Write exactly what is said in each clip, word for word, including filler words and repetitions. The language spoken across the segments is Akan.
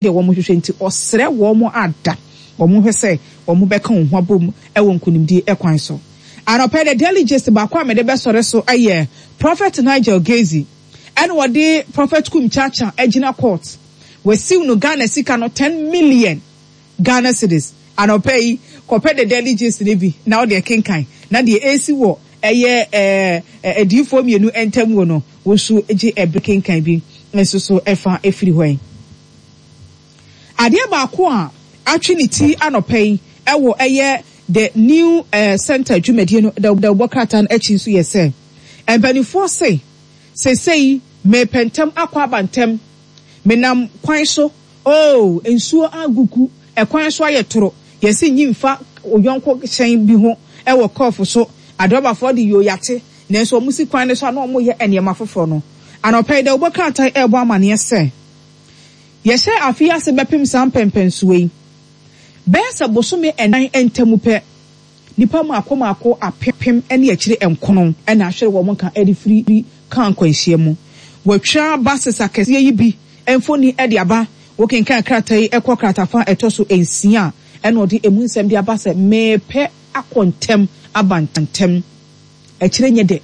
Deɛ wɔhwehwɛ nti ɔsrɛ wɔn ada wɔn hwɛ sɛ wɔn bɛka wɔn ho abom wɔ nkunimdie kwan so. Anɔpa yi The Daily Gist baako a mede bɛsɔre so yɛ Prophet Nigel Gaisie ɛna wɔde Prophet Kum Chacha agyina court. Wasiw no Ghana sika no ten million Ghana cedis. Anɔpa yi kɔpɛ The Daily Gist no bi na wode kenkan na deɛ ɛresi wɔ ɛyɛ ɛɛ adiyifoɔ mmienu ntam wɔ no wo nso gye ɛbere kenkan bi nso so ɛfa ɛfiri hɔ yi. Adeɛ baako a atwe ne ti anɔpa yi wɔ ɛyɛ The New Center dwumadie no dawubɔ krataa no akyi nso yɛ sɛ, mpanimfoɔ se, seesei merepɛ ntɛm akɔ aba ntɛm, menam kwan so, oh, nsuo agugu, ɛkwan so ayɛ toro, yɛse nyi mfa wo yɔnko hyɛn bi ho wɔ kɔɔfo so, adrɔbafoɔ de yoo yate, nanso wɔn si kwan no so a na wɔyɛ nneɛma foforɔ no. Anɔpa yi dawubɔ krataa yi rebɔ amaneɛ sɛ, Yɛhyɛɛ afe yi ase bɛpem saa mpɛnpɛnsoɔ yi, bɛyɛ sɛ bosome nnan ntam pɛ, nnipa mmaako mmaako apem ne akyire nkono na ahwere wɔn nka de firi kaa nkwanhyia mu. Wɔatwa buses akɛseɛ yi bi mfoni de aba. Wokenkan krataa yi kɔ kratafa a ɛtɔ so nsia a, ɛna ɔde emu nsɛm de aba sɛ, Merepɛ akɔ ntɛm aba ntɛm. Akyire nyɛ dɛ.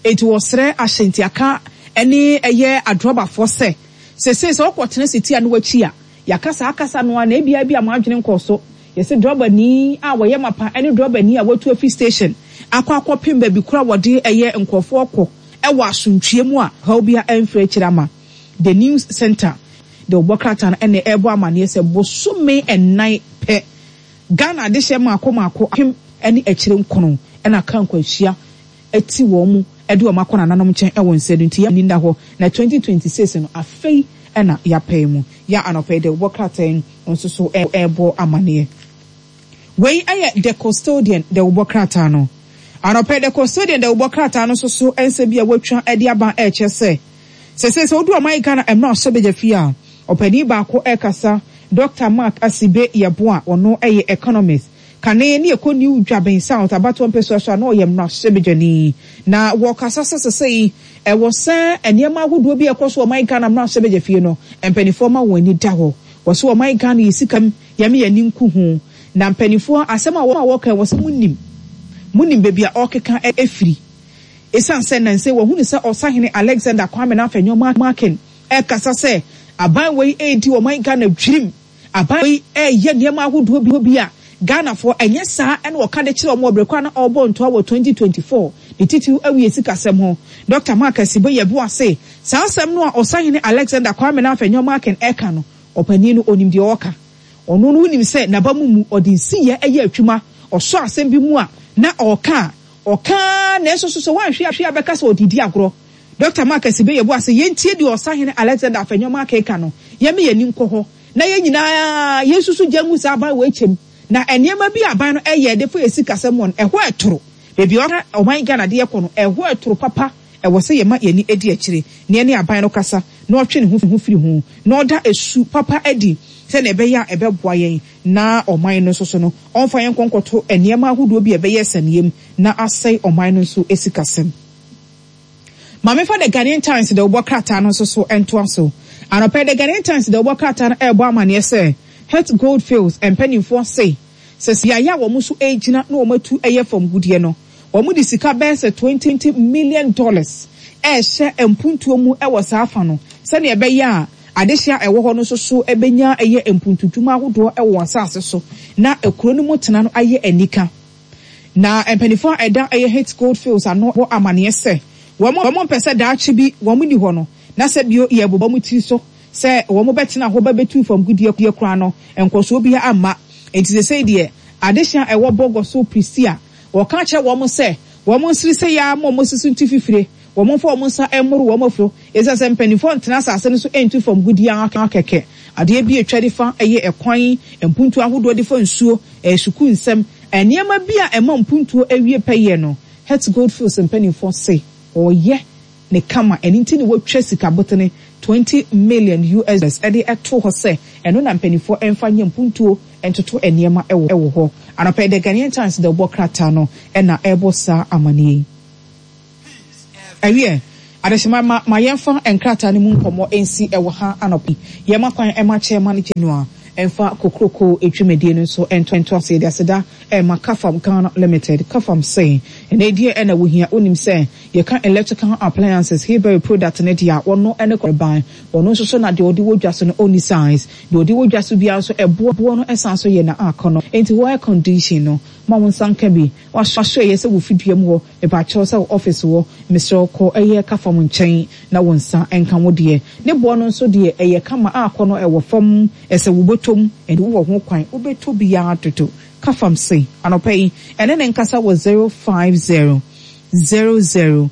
Enti wɔsrɛ ahyɛntiaka ne ɛyɛ adrɔbafoɔ sɛ, Seesei sɛ wokɔtena setia no akyi a, yɛaka saa kasa no ara na ebia ebia mo adwene nkɔɔ so. Yɛse drɔbani a wɔyɛ mapa ne drɔbani a watu afi station akɔ akɔpem baabi koro a wɔde ɛyɛ nkurɔfoɔ kɔ wɔ asontwie mu a ɔhaw biara amfiri akyire ama. The News Center de wɔbɔ krataa no na ɛrebɔ amaneɛ sɛ bosome nnan pɛ Ghana adehyeɛ mmaako mmaako apem ne akyire nkono na aka nkwanhyia ati wɔn mu de wɔn akɔ nananom nkyɛn wɔ nsa no nti yɛn ani nna hɔ na twenty twenty six no afei na yɛapae mu. Yɛ anɔpa yi de wobɔ krataa yi nso so rebɔ amaneɛ. Wei yɛ The Custodian de wobɔ krataa no. Anɔpa yi The Custodian de wobɔ krataa no nso so nsɛm bi a wɔatwa de aba rekyerɛ sɛ sɛsei sɛ wodu ɔman Ghana mmra ɔhyɛbagya fie a ɔpanin baako rekasa Doctor Mark Asibe Yeboah ɔno yɛ economist. Kane ne ɛkɔ New Dwaben South abatoɔ mpɛsoa so a na ɔyɛ mmarahyɛbadwani. Na wɔkasa sɛ sesei ɛwɔ sɛ nneɛma ahodoɔ bi a ɛkɔ so wɔ ɔman Ghana mmarahyɛbadwafie no, mpaninfoɔ ma wɔn ani da hɔ. Wɔse ɔman Ghana yɛ sika mu, yɛme yɛn ani nku ho. Na mpaninfoɔ asɛm a wɔka yi wɔse monim, monim baabi a ɔrekeka afiri. Esiane sɛ nnansa yi wɔahunu sɛ Ɔsahene Alexander Kwame Nafenyo Markin rekasa sɛ aban wei redi ɔman Ghana dwirim, Aban wei reyɛ nneɛma ahodoɔ bi a Ghanafoɔ ɛnyɛ saa na ɔka de kyerɛ wɔn wɔ berɛ ko a na ɔrebɔ ntoa wɔ twenty twenty four ne titiriw awie sikasɛm ho. Dɔkta Mark Asibo Yeboah se saa asɛm no a Ɔsahene Alexander Kwame Nafenyo Markin reka no, ɔpanin no ɔnim deɛ ɔreka. Ɔno no wonim sɛ n'aba mu mu ɔde nsiyɛ yɛ adwuma, ɔsɔ asɛm bi mu a na ɔreka a, ɔka ara nanso so sɛ woanhwɛ a bɛka sɛ ɔde redi agorɔ. Dɔkta Mark Asibo Yeboah se yɛntie deɛ Ɔsahene Alexander Afenyo Markin reka no, yɛmma yɛn ani nkɔ hɔ. Na yɛn nyinaa yɛnsusu gya ngu saa aban wei kyɛm. Na nneɛma bi a aban no ɛyɛ de fa yɛn sikasɛm ho no, ɛhɔ ɛtoro. Baabi a ɔman Ghana de yɛkɔ no, ɛhɔ ɛtoro papa. Ɛwɔ sɛ yɛma yɛn ani di akyire na yɛne aban no kasa na ɔtwe ne ho firi ho na ɔda su papa adi sɛdeɛ ɛbɛyɛ a ɛbɛboa yɛn na ɔman no nso so no, ɔmfa yɛn nkɔ nkɔto nneɛma ahodoɔ bi a ɛbɛyɛ asiane mu na asɛe ɔman no nso sikasɛm. Ma memfa The Ghanaian Times dawubɔ krataa no nso so ntoa so. Anɔpa yi, The Ghanaian Times dawubɔ krataa no rebɔ amanneɛ sɛ Het Goldfields mpanimfoɔ se sɛ beaeɛ a wɔn nso regyina na wɔatu yɛ fam gudeɛ no, wɔde sika bɛyɛ sɛ twenty million dollars rehyɛ mpuntuo mu wɔ saa fa no sɛdeɛ ɛbɛyɛ a adehyeɛ a ɛwɔ hɔ no nso so bɛnya yɛ mpuntudwuma ahodoɔ wɔ wɔn asase so na kuro no mu tena no ayɛ anika. Na mpanyimfo a ɛda ɛyɛ Hit Goldfields ano bɔ amanneɛ sɛ wɔn mpɛ sɛ daakye bi wɔn nni hɔ no na sɛ bio yɛbobɔ wɔn tiri so sɛ wɔn bɛtena hɔ bɛbɛtu fam gudeɛ koraa no nkɔsoɔ biara amma. Enti seesei deɛ adehye a ɛwɔ Bɔgɔ so Prestea wɔka kyerɛ wɔn sɛ wɔn nsere sɛ yɛa ma wɔn sisi ntu fifire, wɔn mfa wɔn nsa mmoro wɔn afuro esiane sɛ mpanyimfoɔ ntena asase no so ntu fam gudeɛ ara kɛkɛ. Adeɛ bi a ɛtwa de fa ɛyɛ ɛkwan, mpuntuo ahodoɔ de fa nsuo, ɛyɛ sukuu nsɛm, Nneɛma bi a ɛma mpuntuo awie pɛyɛ no, Het Goldfields mpanimfoɔ se wɔyɛ no kama, ɛno nti na wɔatwa sika botene twenty million U S dollars de to hɔ sɛ ɛno na mpanimfoɔ mfa nyɛ mpuntuo ntoto nneɛma wɔ hɔ. Anɔpa yi, The Ghanaian Times de wobɔ krataa no na ɛrebɔ saa amaneɛ yi. Ɛwiɛ, Adehyema ma ma yɛmfa nkrataa no mu nkɔmmɔ nsi ɛwɔ ha anɔpa yi. Yɛma kwan ɛma Chairman General ɛmfa kokroko dwumadie no nso nto nto ase. Yɛde aseda ɛma Kafam Ghana Limited. Kafam se ɛnɛ deɛ ɛna wohia. Wonim sɛ yɛka electrical appliances, Hebery product ne deɛ a wɔno ɛne kɔrban. Wɔno nso so na deɛ ɔde wɔ dwa so no ɔnni size. Deɛ ɔde wɔ dwa so biara nso ɛboɔ boɔ no ɛsan so yɛ na akɔ no. Enti wɔ air condition no ma wo nsa nka bi. Wahyɛ yɛ sɛ wo fidua mu hɔ, mepakyɛw sɛ wo office wɔ, mesrɛ kɔ ɛyɛ Kafam nkyɛn na wo nsa nka wo deɛ. Ne boɔ no nso deɛ ɛyɛ kama akɔ no ɛwɔ fam, ɛsɛ wo bɔtɔm, ɛde wowɔ ho kwan wobɛtɔ biara dodo. Kafam se anɔpa yi ɛne ne nkasa wɔ zero five zero zero zero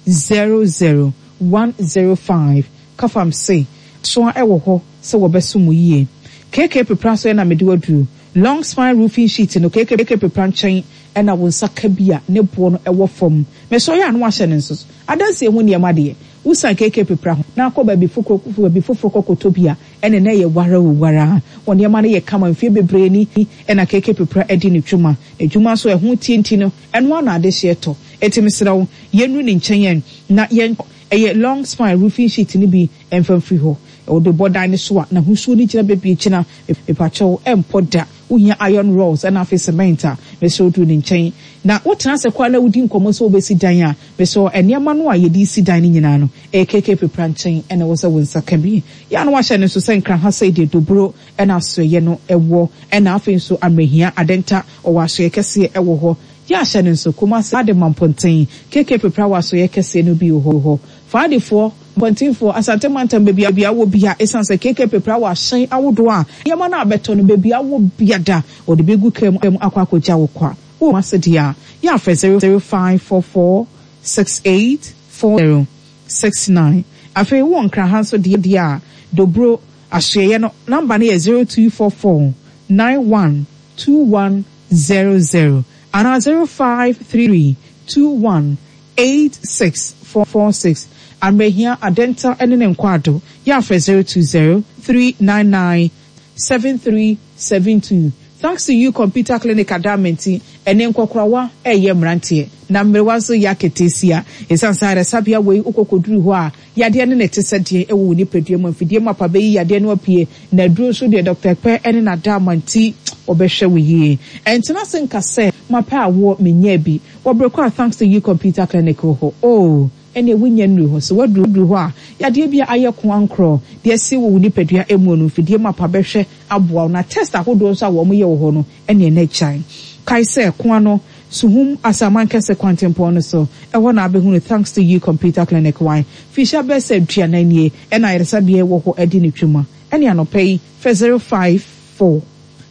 zero zero one zero five. Kafam se soa ɛwɔ hɔ sɛ wɔbɛso mo yie. K K Pepra so ɛna mede waduru long spine roofing sheet no. K K Pepra nkyɛn ɛna wo nsa ka bi a ne boɔ no ɛwɔ fam. Mɛsɔ yɛ ano ahyɛ ne nso so adansi ehu nneɛma deɛ wosan K K Pepra ho na akɔ baabi foforɔ baabi foforɔ kɔkɔtɔ bi a ɛne na ɛyɛ wara o wara. Wɔn nneɛma no yɛ kama mfie bebree ni ɛna K K Pepra ɛdi ne dwuma. Adwuma nso ɛho tie nti no ɛno ano adehyeɛ tɔ. Eti mesrɛ wo, yɛnnu ne nkyɛn yɛn na yɛn ɛyɛ long spine roofing sheet no bi ɛmfa mfiri hɔ. Wɔde bɔ dan no so a n'ahosuo no gyina bebree kyina mepakyɛw ɛmpɔ da. Wohia iron rods ɛna afei cement a, mesrɛ duru ne nkyɛn na wotena ase koraa na wodi nkɔmmɔ sɛ wobɛsi dan a, mesrɛ nneɛma no a yɛde si dan no nyinaa no ɛyɛ K K Pepra nkyɛn ɛna ɛwɔ sɛ wo nsa ka bi. Yɛa no wahyɛ no nso sɛ Nkran ha sɛ deɛ Dobro ɛna asoɛyɛ no ɛwɔ, ɛna afei nso Amerɛhia Adenta ɔwɔ asoɛ kɛseɛ ɛwɔ hɔ. Yɛ ahyɛ no nso Kumase ade ma mpɔnten K K Pepra wɔ asoɛ kɛseɛ no bi wɔ hɔ. Faadefoɔ mpɔntenfoɔ Asante mantam baabi a wɔ bia, ɛsiane sɛ K K Pepra wɔ ahyɛn ahodoɔ a nneɛma no abɛtɔ no baabi a wɔ bia da wɔde bɛgu kaa mu akɔ akɔgya wo kwa. Wɔ ase deɛ a yɛafrɛ zero zero five four four six eight four zero six nine. Afei wɔ Nkraha nso deɛ deɛ a Dobro asoɛyɛ no number no yɛ zero two four four nine one two one zero zero anaa zero five three two one eight six four four six. Amrehia Adenta ne ne nkwado yɛafrɛ zero two zero three nine nine seven three seven two. Thanks to You Computer Clinic adamenti ɛne nkɔkorawa ɛyɛ mmeranteɛ na mmerewa nso yɛ aketeesia. Ɛsiane sɛ ayaresabea wei wokɔkɔduru hɔ a yadeɛ ne ne te sɛ deɛ ɛwɔ wo nipadua mu, mfidie mu apa bɛyi yadeɛ no apue na aduro nso deɛ Doctor Pɛ ne n'adama nti wɔbɛhwɛ wo yie. Ɛntena se nka sɛ mapɛ awoɔ menyɛ bi wɔbrɛ kɔ a Thanks to You Computer Clinic wɔ hɔ oh ɛne wonya nnuru hɔ so waduru duru hɔ a yadeɛ bi a ayɛ ko ankorɔ deɛ ɛsi wɔ wo nipadua emu no, mfidie mu apa bɛhwɛ aboa wo na test ahodoɔ nso a wɔn yɛ wɔ hɔ no ɛne ɛnɛ kyan. Kae sɛ koa no Suhum Asaman Kɛse kwantempɔn no so ɛhɔ na abɛhunu Thanks to You Computer Clinic. Wan fihyia bɛɛ sɛ aduanan nie ɛna ayaresabea wɔ hɔ adi ne twuma. Ɛne anɔpɛ yi fɛ zero five four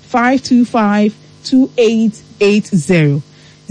five two five two eight eight zero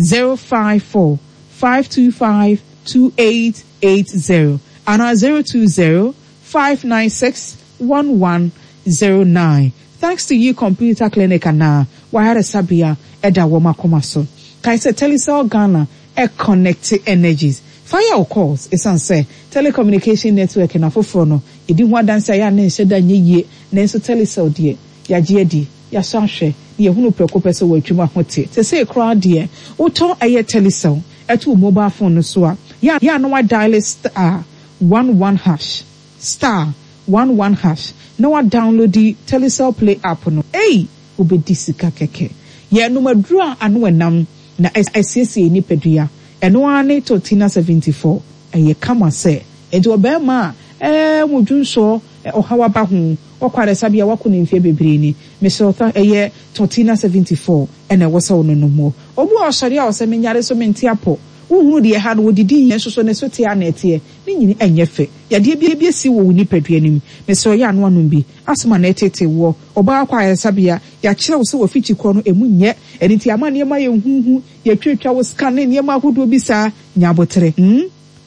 zero five four five two five two eight eight zero ana zero two zero five nine six one one zero nine. Thanks to You Computer Clinic anaa wayaresabea ɛda wɔn akoma so. Kae sɛ Telecel Ghana ɛ connect energies fire wo calls. Ɛsiane sɛ telecommunication network na foforɔ no yɛdi ho adanse a yɛ a ne nhyɛ da nyɛ yie, nanso Telecel deɛ yɛagye adi, yɛasɔ ahwɛ na yɛhunu prɛko pɛ sɛ wɔatwam ho te sɛsei koraa deɛ wotɔ ɛyɛ Telecel ɛto wo mobile phone no so a yɛ a na wadial star one one hash star one one hash na wadownload Telecel Play app no. Ei, wobɛdi sika kɛkɛ. Yɛnom aduro a ano ɛnam na ɛsiesie nipadua. Ɛno ara ne Tortina seventy four. Ɛyɛ kama sɛ nti ɔbɛrima a ɛɛ mo dwonsɔ ɔhaw aba ho wakɔ ayaresabea wakɔ ne mfeɛ bebree ni, mesrɛ ɔta ɛyɛ Tortina seventy four ɛna ɛwɔ sɛ ɔno nom. Hɔ obi a ɔsɔre a ɔsɛ menyare so mente apɔ wohunu deɛ ha no wɔdidi yɛn nso so ne so te a na ɛteɛ ne nyini ɛnyɛ fɛ. Yadeɛ bi bi esi wɔ wo nipadua nim, mesrɛ ɔyɛ ano anom bi asoma na ɛtete wɔ ɔbaa kɔ ayaresabea yɛakyerɛ wo sɛ wɔfikyi korɔ no emu nyɛ ɛno nti ama nneɛma yɛ huhu yɛtwatwa wo scan ne nneɛma ahodoɔ bi saa. Nyabotere hmm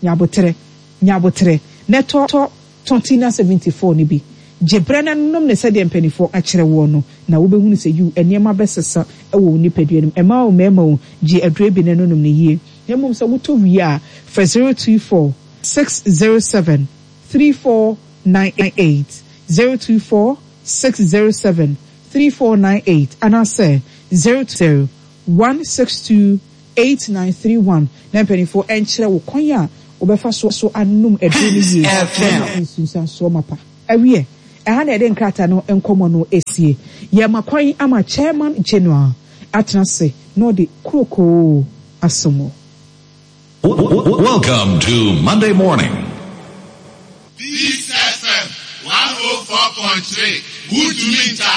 nyabotere nyabotere na ɛtɔ tɔ Tortina seventy four no bi gye berɛ no nom ne sɛdeɛ mpanimfoɔ akyerɛ woɔ no na wobɛhunu sɛ yiw nneɛma bɛsesa wɔ wo nipadua no mu. Ɛma wo mmarima o gye aduro bi no nom no yie. Na mmom sɛ wotɔ wie a frɛ zero two four six zero seven three four nine eight zero two four six zero seven three four nine eight anaasɛ zero zero one six two eight nine three one na mpanimfoɔ nkyerɛ wo kwan a wobɛfa so anom aduro no yie na anya nsunsuansoɔ mapa. Awiɛ, ɛha na yɛde nkrataa no nkɔmmɔ no sie. Yɛrema kwan ama Chairman General atena ase na ɔde krokoo asom wo. Welcome to Monday morning. Peace F M one oh four point three, Wuntumi nta.